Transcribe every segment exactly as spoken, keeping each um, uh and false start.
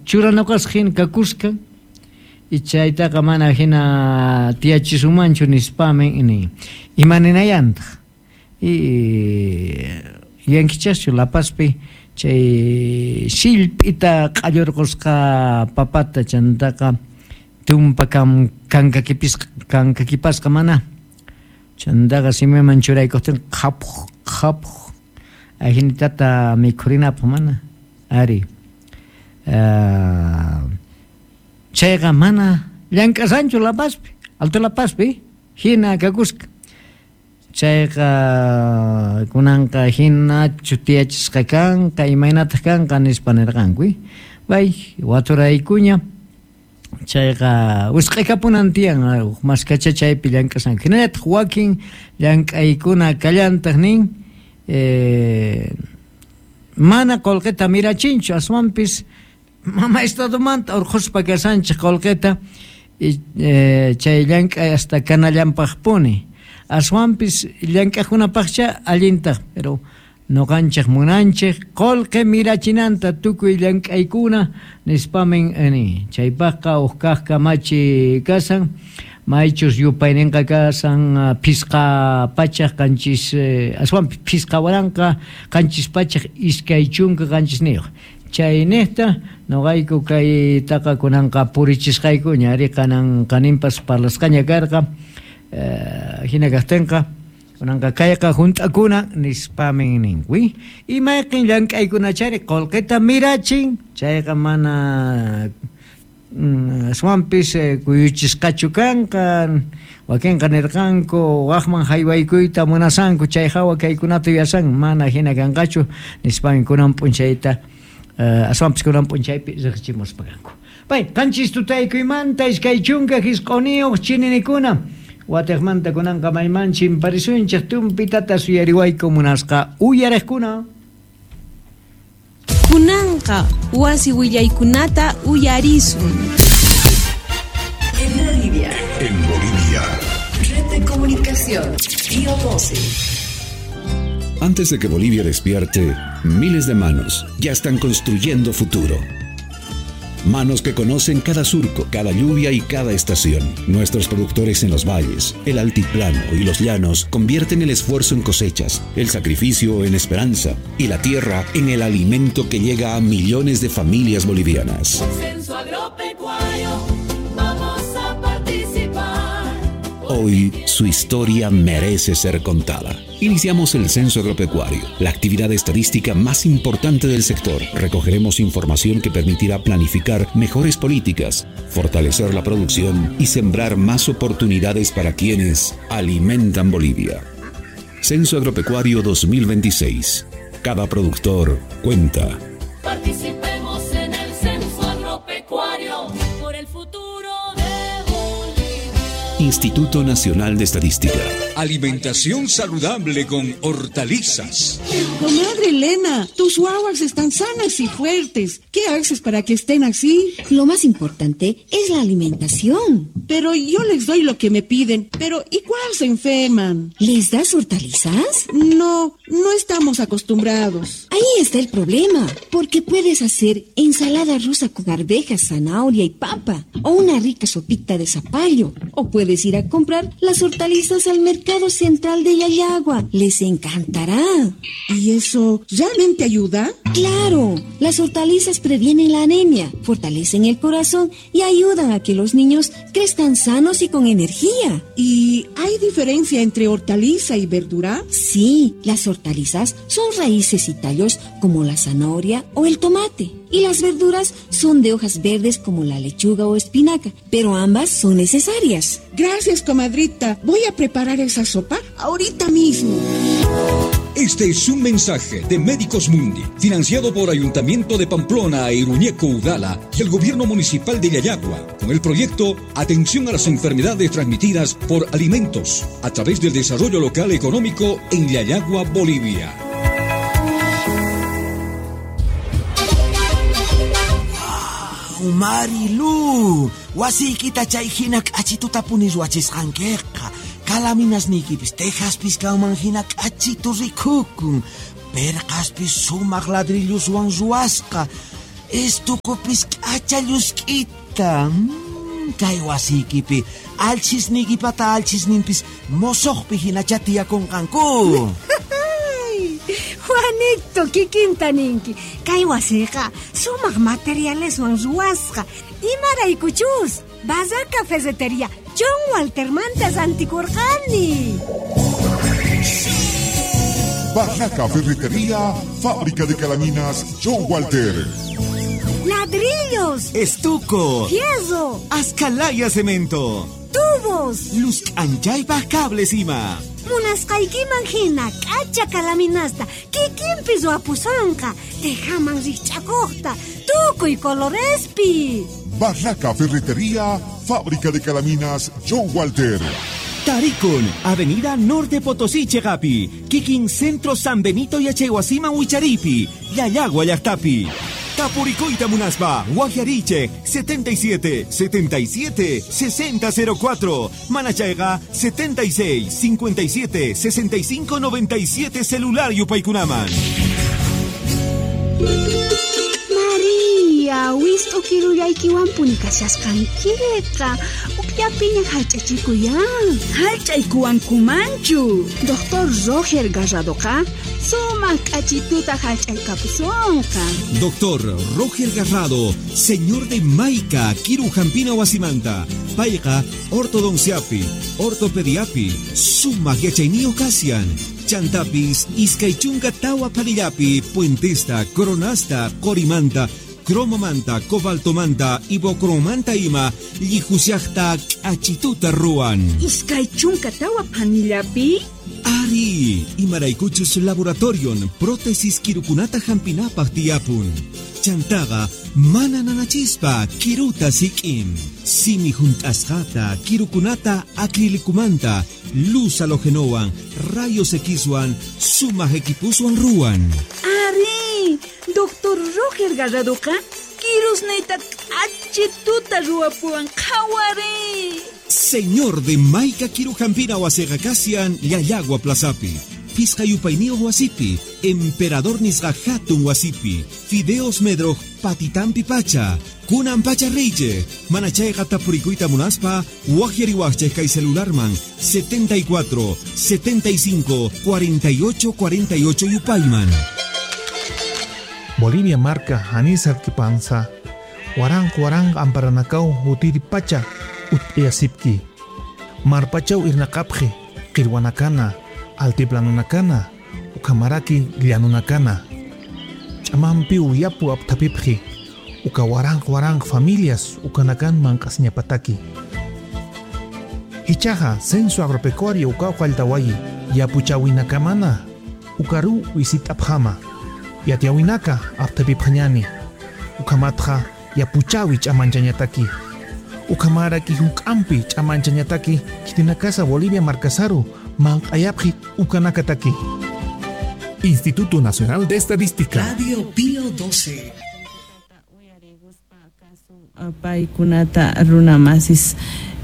churanoqasqa hina kakusqa y chaytaqa mana hina tiyachisumanchu nispamin nin imaninayantaq y yankichaschu La Pazpi chay sillp'ita q'allurqusqa papata chantaqa tumpa kam kankakipisqa kankakipasqa mana chantaqa simiman churaykuqtin qhapuq qhapuq ajinitata mikhurinapaq mana ari uh, chayqa mana llank'asanchu La Pazpi Alto La Pazpi hina kakusqa chayqa kunanqa hinachu tiyachisqa kanqa imaynataq kanqa nispa nirqanku bay waturaykuña chayqa wisq'aykapunan tiyan maskacha chaypi llank'asanku hinallataq wakin llank'aykuna kallantaq nin eh, mana qullqita mirachinchu aswanpis mama estadomanta urqhuspa kasanchik qullqita eh, chay llank'ay hasta kanallanpaqpuni aswanpis llank'aqkunapaqcha allintaq pero noqanchik munanchik qullqi mirachinanta tukuy llank'aykuna nispamin ni chaypaqqa uj kaq kamachi kasan maychus yupayninqa kasan phisqa pachaq qanchis aswanpis phisqa waranqa qanchis pachaq iskay chunka qanchisniyuq chayniqta noqayku kaytaqa kunanqa purichisqaykuña ari kanan qaninpas parlasqaña karqa hina kaqtinqa kunanqa kayqa hunt'akuna nispamin ninku imayqin llank'aykunachari qullqita mirachin chayqa mana aswanpis kuyuchisqachu kanqa wakinqa nirqanku waqman haywaykuyta munasanku chay hawa kaykunata yuyasan mana hina kanqachu nispamin kunan p'unchayta aswanpis kunan p'unchaypi riqchimuspa kanku pay qanchis tutaykuymanta iskay chunka hisq'uniyuq chininikuna watiqmanta kunanqa mayman chimparisunchik tumpitata suyariwayku munasqa uyariqkuna. Kunanqa wasi willaykunata uyarisun. En Bolivia. En Bolivia. Red de comunicación. Río doce. Antes de que Bolivia despierte, miles de manos ya están construyendo futuro. Manos que conocen cada surco, cada lluvia y cada estación. Nuestros productores en los valles, el altiplano y los llanos convierten el esfuerzo en cosechas, el sacrificio en esperanza y la tierra en el alimento que llega a millones de familias bolivianas. Censo agropecuario, vamos a participar. Hoy su historia merece ser contada. Iniciamos el Censo Agropecuario, la actividad estadística más importante del sector. Recogeremos información que permitirá planificar mejores políticas, fortalecer la producción y sembrar más oportunidades para quienes alimentan Bolivia. Censo Agropecuario dos mil veintiséis. Cada productor cuenta. Participemos en el Censo Agropecuario por el futuro de Bolivia. Instituto Nacional de Estadística. Alimentación saludable con hortalizas. Comadre Elena, tus guaguas están sanas y fuertes. ¿Qué haces para que estén así? Lo más importante es la alimentación. Pero yo les doy lo que me piden, pero igual se enferman. ¿Les das hortalizas? No, no estamos acostumbrados. Ahí está el problema, porque puedes hacer ensalada rusa con arvejas, zanahoria y papa, o una rica sopita de zapallo, o puedes ir a comprar las hortalizas al mercado Central de Llallagua. Les encantará. ¿Y eso realmente ayuda? ¡Claro! Las hortalizas previenen la anemia, fortalecen el corazón y ayudan a que los niños crezcan sanos y con energía. ¿Y hay diferencia entre hortaliza y verdura? Sí, las hortalizas son raíces y tallos como la zanahoria o el tomate. Y las verduras son de hojas verdes como la lechuga o espinaca, pero ambas son necesarias. Gracias, comadrita. Voy a preparar esa sopa ahorita mismo. Este es un mensaje de Médicos Mundi, financiado por Ayuntamiento de Pamplona e Iruñeco Udala y el Gobierno Municipal de Llallagua, con el proyecto Atención a las Enfermedades Transmitidas por Alimentos, a través del Desarrollo Local Económico en Llallagua, Bolivia. Marilu, wasiykita chay hina k'achituta punis wachisqankiqa. Kalaminasniykipis tejaspis kanman hina k'achitu rikukun. Perqaspis sumaq ladrilluswan ruwasqa. Estucopis k'acha llusk'ita. Mm, kay wasiykipi alchisniykipata alchisninpis mosoqpi hinacha tiyakunqanku. Juanito, kikinta ninki. Kay wasiqa sumaq materialeswan ruwasqa. Imaraykuchus, Barraca Ferretería John Waltermanta rantikurqani. Barraca Ferretería, fábrica de calaminas John Walter. Ladrillos, estuco, fierro, ascalaya cemento, tubos, luz anchaypaj cables ima. Munasqaykiman hina k'acha kalaminasta kikinpi ruwapusonqa, tejaman rikch'akuqta, tukuy colorespi. Barraca Ferretería, fábrica de calaminas John Walter. Taricon, Avenida Norte Potosí, Chegapi, Kikin Centro San Benito y Achehuasima Huicharipi, Yayagua Yactapi. Tapuricoita Munaspa, Guajariche, setenta y siete, setenta y siete, sesenta cero cuatro, Manachaiga, setenta y seis, cincuenta y siete, sesenta y cinco, noventa y siete, celular Yupaycunaman. María, wist'ukirullaykiwanpuni kashasqankiqa, ukllapiña hallch'achikuyan. Hallch'aykuwankumanchu. Doctor Roger Garradoqa sumaq k'achituta hallch'aykapusonqa. Doctor Roger Garrado, señor de Maica, Kirujampina Wasimanta, payqa ortodonciapi, ortopediapi, sumaq yachayniyuq kasian. Chantapis, iskaychunka tawa panillapi, puentesta, coronasta, corimanta, cromomanta, cobaltomanta, ibocromanta ima, llijusiajta, k'achituta ruwan. Iskaychunka tawa panillapi? Ari, imaraykuchus laboratorion, prótesis kirukunata hampinapaj tiyapun. Chantaqa, mana nanachispa, kiruta sik'in. Simi junt'asqata, kirukunata acrilicumanta, luz halogenowan, rayos Xwan, sumaq equipuswan ruwan. Ari, doctor Roger Garradoqa, kirusniyta k'achituta ruwapuwan qhawari. Señor de Maica Kirujampina wasiqa kasian Llallagua Plazapi. Pisqa yupayniyuq wasipi, Emperador nisqa hatun wasipi, Fideos Medroj patitampi pacha, kunan pacha reyche, manachayqa tapurikuyta munaspa, waqyariwaqchej kay celularman setenta y cuatro, setenta y cinco, cuarenta y ocho, cuarenta y ocho yupayman. Bolivia marca Anísar Kipanza, Warang Warang Amparanakau Hutiri Pacha, Ut'iyasipki, Marpachau Irnakapje, Qirwanakana, Altiplanunakana, Ukamaraki Llanunakana, Ch'amampi uyapu aptapipji, Uka warang warang familias ukanakan mank'asñapataki. Hichaja censo agropecuario uka uqalltawayi, yapuchawinakamana, ukaru wisit'apjama, yatiawinaka aptapipjañani, ukamatja yapuchawi ch'amanchañataki, ukamaraki huk'ampi ch'amanchañataki, kitinakasa Bolivia markasaru, mank'ayapji ukanakataki. Instituto Nacional de Estadística. Radio Pío doce. Paykunata runamasis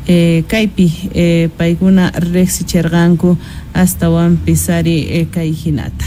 eh, kaypi eh, paykuna riqsichirqanku astawanpis ari eh, kay hinata.